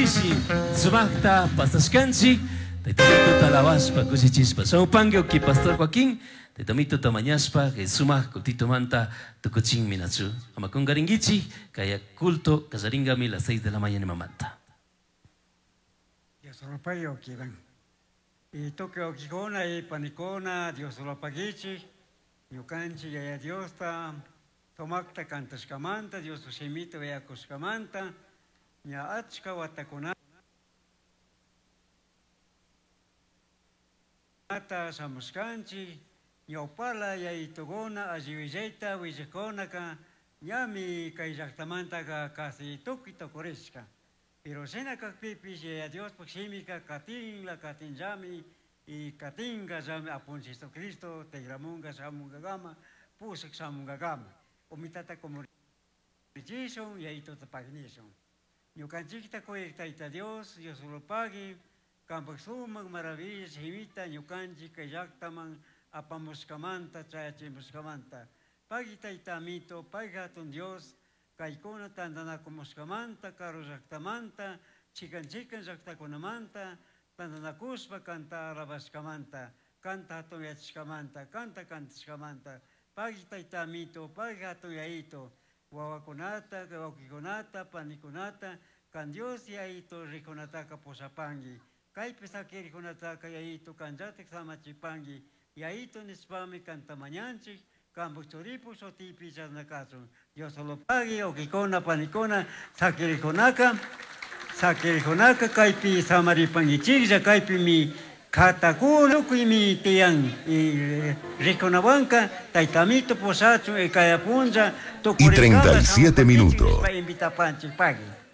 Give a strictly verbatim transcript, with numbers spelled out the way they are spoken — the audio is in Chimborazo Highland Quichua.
Pishi sumaqta pasashkanchik Tayta alabashpa kushichispa. Shamupanki uki Pastor Joaquín, Tayta Mituta mañashpa, sumaq kultitumanta tukuchinmi nachu. Ama kungarinkichik, kaya culto kallaringami las seis de la mañana mamanta. Dios lo pague ukiban. Y tukuy uqikuna y panikuna, Dios lo paguichik, ñukanchik yaya Diosta, sumaqta kantashkamanta, Dios shimita uyakushkamanta, ña achka watakunata shamushkanchik, ñawpala yayituguna, alliwillayta willajkunaka, ñami kay llaktamantaka casi tukuy tukurishka. Pero shina kakpipish yaya Diospuk shimika katinla katinllami y katinga llami apunchik Jesucristo tigramunga shamungakama, pushak shamungakama. Umitata kumurichishun, yayituta pagnishun. Ñukanchikta kuyak Tayta Dios, Dios lo pagui, kampak sumak maravilla shimita ñukanchik kay llaktaman apamushkamanta, chayachimushkamanta. Pagui Tayta Amito, pagui hatun Dios, kaykuna tantanakushkamanta, karu llaktamanta, chikan chikan llaktakunamanta, tantanakushpa kanta alabashkamanta, kanta hatunyachishkamanta, kanta kantashkamanta. Pagui Tayta Amito, pagui hatun Yayito, wawakunata, wawqikunata, panikunata, kan Dios Yayito rikunataka pushapanki. Kaypi sakirikunataka Yayito kanllatik samachipanki. Yayito nishpami kanta mañanchik, kampak churipu shutipi chashna kachun. Dios lo pagui, uqikuna, panikuna, sakirikunaka, sakirikunaka kaypi samaripankichiklla, kaypimi katakuna, tukuymi tiyan, y rikunawanka, Tayta Amito pushachun, y kaya punlla, Y treinta y siete minutos. Invitapanchik, pagui.